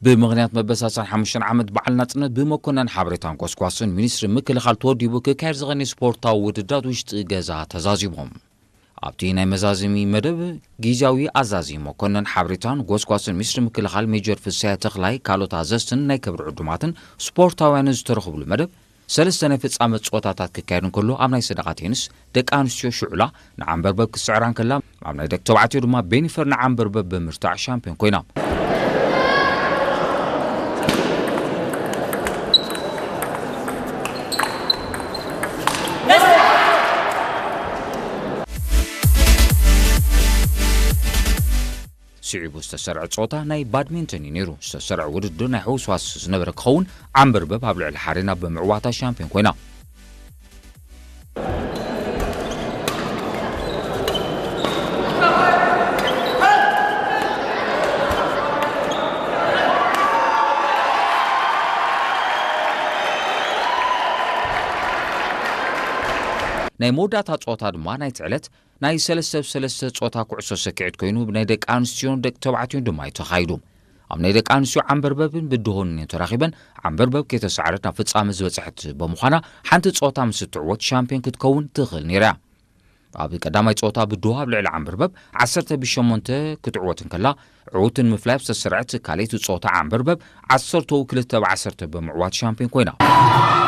ብምኽንያት መበሳሰን ሓሙሽተ ዓመት በዓል ናጽነት ብመኮነን ሓበሬታን ጎስጓስን ሚኒስትሪ ምክልኻል ተወዲቡ ክካየድ ዝቐኒ ስፖርታዊ ውድድራት ውሽጢ ገዛ ተዛዚሞም። ኣብቲ ናይ መዛዘሚ መደብ፣ ግዝያዊ ኣዛዚ መኮነን ሓበሬታን ጎስጓስን ሚኒስትሪ ምክልኻል ሜጀር ፍስሐ ተኽላይ ካልኦት ኣዘዝትን ናይ ክብሪ ዕዱማትን ስፖርታውያንን ዝተረኽብሉ መደብ፣ ሰለስተ ናይ ፍጻመ ጸወታታት ክካየድ እንከሎ፣ ኣብ ናይ ሰደቓ ቴኒስ ደቂ ኣንስትዮ ሽዑላ ንዓንበርበብ ክትስዕራ እንከላ፣ ኣብ ናይ ደቂ ተባዕትዮ ድማ ቤኒፈር ንዓንበርበብ ብምርታዕ ሻምፒዮን ኮይና። ስዒቡ ዝተሰርዐ ጸወታ ናይ ባድሚንተን እዩ ነይሩ። ዝተሰርዐ ውድድር ናይ ሕውስዋስ ዝነበረ ክኸውን፣ ዓንበርበብ ኣብ ልዕሊ ሓሬና ብምዕዋታ ሻምፒዮን ኮይና። ናይ መወዳእታ ጸወታ ድማ ናይቲ ዕለት ናይ ሰለስተ ብ ሰለስተ ጸወታ ኩዕሶ ሰኪዔት ኮይኑ፣ ብናይ ደቂ ኣንስትዮን ደቂ ተባዕትዮን ድማ እዩ ተኻይዱ። ኣብ ናይ ደቂ ኣንስትዮ ዓንበርበብን ብድሆን እየን ተራኺበን። ዓንበርበብ ከይተሳዕረት ናብ ፍጻመ ዝበጽሐት ብምዃና፣ ሓንቲ ጸወታ ምስ እትዕወት ሻምፒዮን ክትከውን ትኽእል ነይራ እያ። ኣብ ቀዳማይ ጸወታ ብድሆ ኣብ ልዕሊ ዓንበርበብ ዓሰርተ ብ ሸሞንተ ክትዕወት እንከላ፣ ዕዉትን ምፍላይ ኣብ ዝተሰርዐት ካልኣይቲ ጸወታ ዓንበርበብ ዓሰርተ ብ ክልተ ብ ዓሰርተ ብምዕዋት ሻምፒዮን ኮይና።